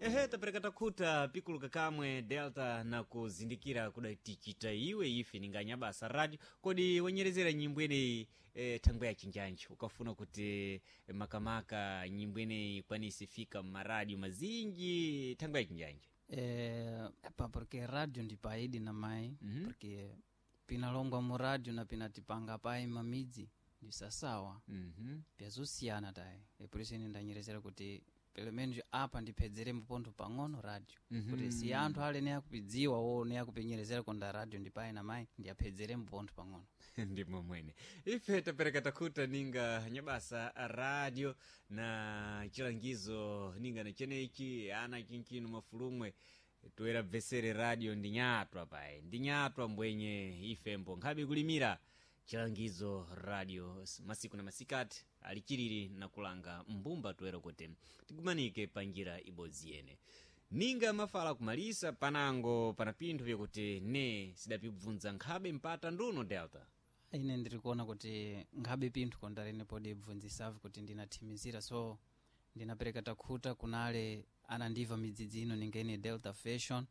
Ehe, tapereka takhuta pikuluka kamwe Delta na kuzindikira kuda tichita iwe ife ninganyabasa radio. Kodi wanyerezera nyimbo ineyi thangwe ya chinjanji ukafuna kuti makamaka nyimbo ineyi ikwanise fika mmaradio mazinji thangwe ya chinjanji? Epa, porque radio ndi paidi na mai. Porque pinalongwa mu radio na pinatipanga pai mamidzi ndi sasawa. Pyazosiyana tayi, e por isso ine ndanyerezera kuti pelo menos apa ndiphedzere mpontho pang'ono radio, kuti si anthu ale ne akupidziwa wo ne akupinyerezera konda radio ndi pai na mai, ndiyaphedzere mpontho pang'ono. Ndimo mwene ife tapereka takhuta ninga nyabasa radio na chilangizo ninga na chenechi ana chinchino mafulumwe toera bvesere radio ndi nyatwa payi ndi nyatwa mbwenye ifembo nkhabe kulimira chilangizo radio masiku na masikati alichiriri na kulanga mbumba toera kuti tigumanike pa njira ibodzi yene ninga mafala kumalisa panango pana pinthu vyakuti ne sidapibvunza nkhabe mpata nduno, Delta. Ine ndiri kuona kuti nkhabe pinthu kondarene podi bvunzisavu kuti ndinathimizira, so ndinapereka takhuta kunale anandiva midzidzi ino ningene Delta Fashion.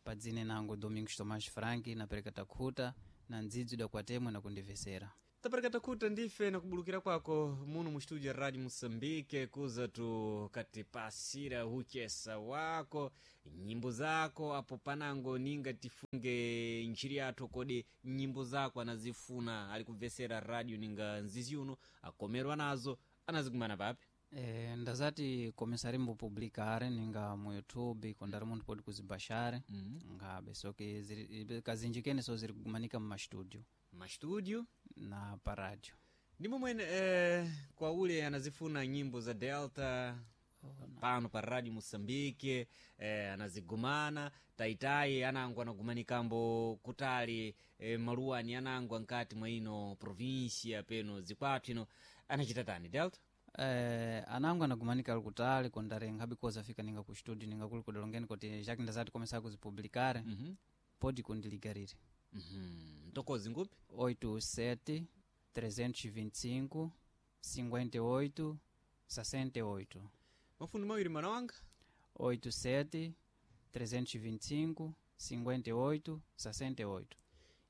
Padzine nango Domingos Tomás Frank, napereka takhuta na ndzidzi idakwatemwe nakundivesera. Tapereka takhuta ndife nakubulukira kwako muno mu studio ya Radio Moçambique kuza tu katipasira uchesa wako, nyimbo zako apo panango ninga tifunge ntchiri yathu. Kodi nyimbo zako anazifuna ali kubvesera radio ninga nzizi uno akomerwa nazo anazikumana papi? Ndazati komisari mbupublikare ninga mu YouTube kondari munthu podi kuzibashare. Ngabe soke kazinji kene so ziri kugumanika mu mastudio. Mastudio na paradio. Ndimo mwene kwa ule anazifuna nyimbo za Delta pano pa Radio Moçambique anazigumana taitai anango anagumanikambo kutali maluwani anango ankati mwa ino provincia peno zikwathu ino anachita tani, Delta? Anango anagumanika ali kutali kondari nkhabe koza fika ninga ku studio ninga kuli kudalongeni kuti jacques ndazati komesa kuzipublikare. Podi kundiligarire. Ntokozi ngupi? 87 325 58 68. Mafundo mawiri, mwana wanga. 87 325 58 68.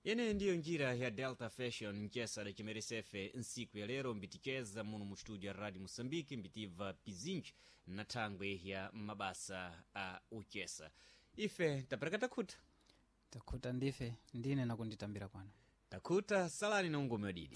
Yeneyo ndiyo njira ya Delta Fashion mchesa dachimeresefe nsiku ya lero mbiticheza muno mu studio ya Radio Moçambique mbitibva pizinji na thangwe ya mabasa a uchesa. Ife tapereka takhuta. Takhuta ndife ndine nakunditambira kwano. Takhuta, salani na ungome wadidi.